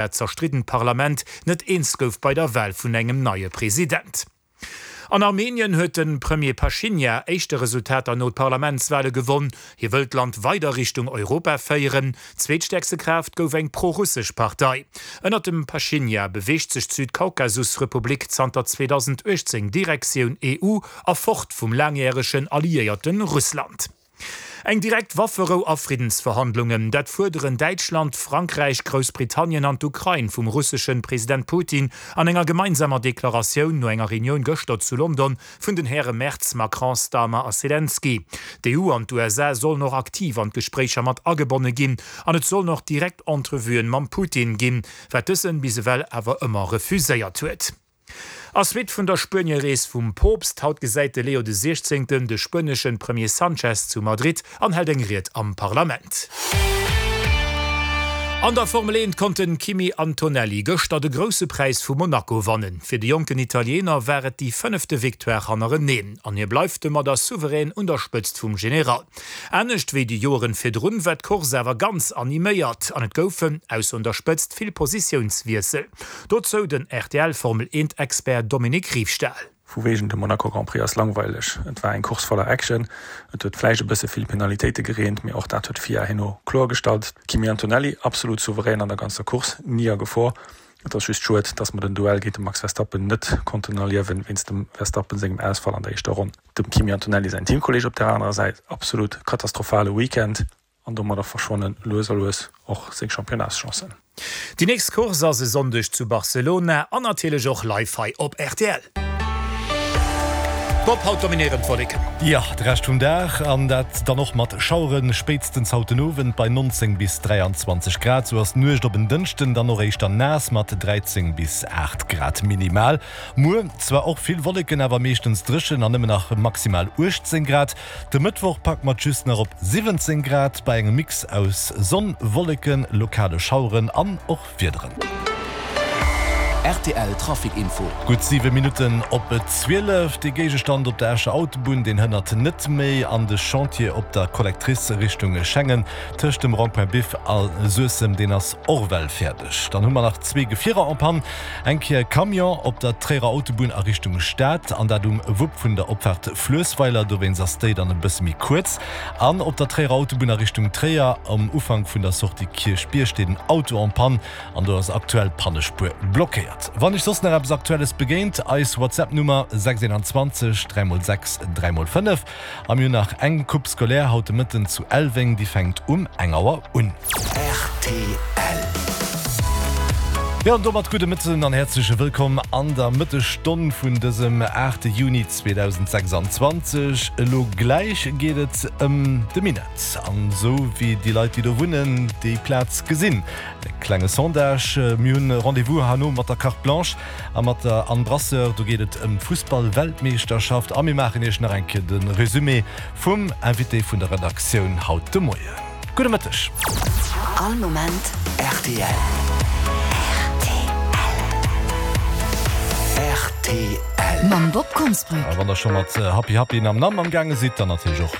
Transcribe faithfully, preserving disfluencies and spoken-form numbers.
Dat zerstriddent Parlament net eens gouf bei der Wal vun engem neie President. An Armenien huet de Premier Paschinjan éischte Resultater no d'Parlamentswale gewonn. Hie wëll d'Land weider Richtung Europa féieren. Zweetstäerkste Kraaft gouf eng pro-russesch Partei. Ënnert dem Paschinjan beweegt sech d'Südkaukasusrepublik zanter zweedausenduechtzéng Direktioun E U a fort vum laangjäregen Alliéierte Russland. Eng direkt Wafferou a Friddensverhandlungen, dat fuerderen Däitschland, Frankräich, Groussbritannien an d'Ukrain vum russesche President Putin an enger gemeinsamer Deklaratioun no enger Reunioun gëschter zu London vun den Häre Merz, Macron, Starmer a Selenskyj. D'E U an d'U S A sollen och aktiv an d'Gespréicher mat agebonne ginn an et sollen och direkt Entrevuen mam Putin ginn, wat dësen bis ewell awer ëmmer refuséiert huet. A Suite vun der Spuenie-Rees vum Poopst, haut gesäit de Leo de Siechzéngten de spueneschen Premier Sanchez zu Madrid an hält eng Ried am Parlament. An der Formel eent konnt den Kimi Antonelli gëschter de Grousse Präis vu Monaco wannen. Fir de jonken Italiener war et déi fënnefte Victoire hannereneen an hie bleift domadder souverän un der Spëtzt vum General. Anescht wéi déi Joren virdrun war d'Course awer ganz animéiert an et goufen, ausser un der Spëtzt, vill Positiounswiessel. Dozou den R T L Formel eent Expert Dominique Riefstahl. Vu wegen de Monaco Grand Prix ass langweileg. Et war eng Course voller Action. Et huet vläicht e bësse vill Penalitéite gereent, mee och dat huet d'FIA herno kloergestallt. Kimi Antonelli absolut souverän an der ganzer Course, ni a Gefor. Et ass just schued, dass mer den Duell géint de Max Verstappen net konnten erliewen, wéinst dem Verstappen sengem Ausfall an der éischter Ronn. Dem Kimi Antonelli säin Teamkolleeg op der anerer Säit, absolut katastrophale Weekend an domadder verschwannen lues a lues och seng Championnats-Chancen. Déi nächst Course ass e Sonndeg zu Barcelona an natierlech och live hei op R T L. Bob, haut dominéieren d'Wolleken. Jo, de Rescht vum Dag an dat dann och mat Schaueren, spéitstens haut den Owend bei neunzéng bis dräianzwanzeg Grad. Sou ass d'Nuecht op en Dënschden dann och éischter naass mat dräizéng bis aacht Grad minimal. Muer zwar och vill Wolleken, awer meeschtens dréchen an nëmmen nach maximal uechtzéng Grad. De Mëttwoch packe mer et just nach op siwwenzéng Grad bei engem Mix aus Sonn, Wolleken, lokale Schaueren an och Wiederen. R T L Trafic Info. Gutt siwe Minutten op zwielef. De Géigestand op der Escher Autobunn, deen hënnert net méi an de Chantier op der Collectrice Richtung Schengen tëscht dem Rond-point Biff a Suessem, deen ass och well fäerdeg. Dann hu mer nach zwee Gefierer en panne. Eng Kéier e Camion op der Tréierer Autobunn a Richtung Stad an dat um Wupp vun der Opfaart Fluessweiler, dowéinst ass déi dann e bësse méi kuerz. An op der Tréierer Autobunn a Richtung Tréier um Ufank vun der Sortie Kierchbierg steet en Auto en panne an do ass aktuell d'Pannespuer blockéiert. Wann iech soss nach eppes Aktuelles begéint, eis WhatsApp-Nummer sechs einundzwanzeg dräi mol sechs dräi mol fënnef. A mir hunn nach eng Coupe scolaire haut de Mëtten zu Elweng, déi fänkt um eng Auer un. R T L. Jo, an domat gudde Mëtten an häerzleche Wëllkomm an der Mëttesstonn vun dësem aachte Juni zweedausendsechsanzwanzeg. Elo gläich geet et ëm de Minett an esou wéi déi Leit, déi do wunnen, déi Plaz gesinn. E klenge Sondage. Mir hunn Rendez-vous herno mat der Carte Blanche a mat der Anne Brasseur. Do geet et ëm d'Fussball-Weltmeeschterschaft a mir maachen Iech nach eng Kéier de Resumé vum Invité vun der Redaktioun haut de Moien. Gudde Mëtteg. All Moment R T L. R T L. Mam Bob Konsbrück. A wann der scho mat Happy Happy Nam Nam am gaange sidd, dann natierlech och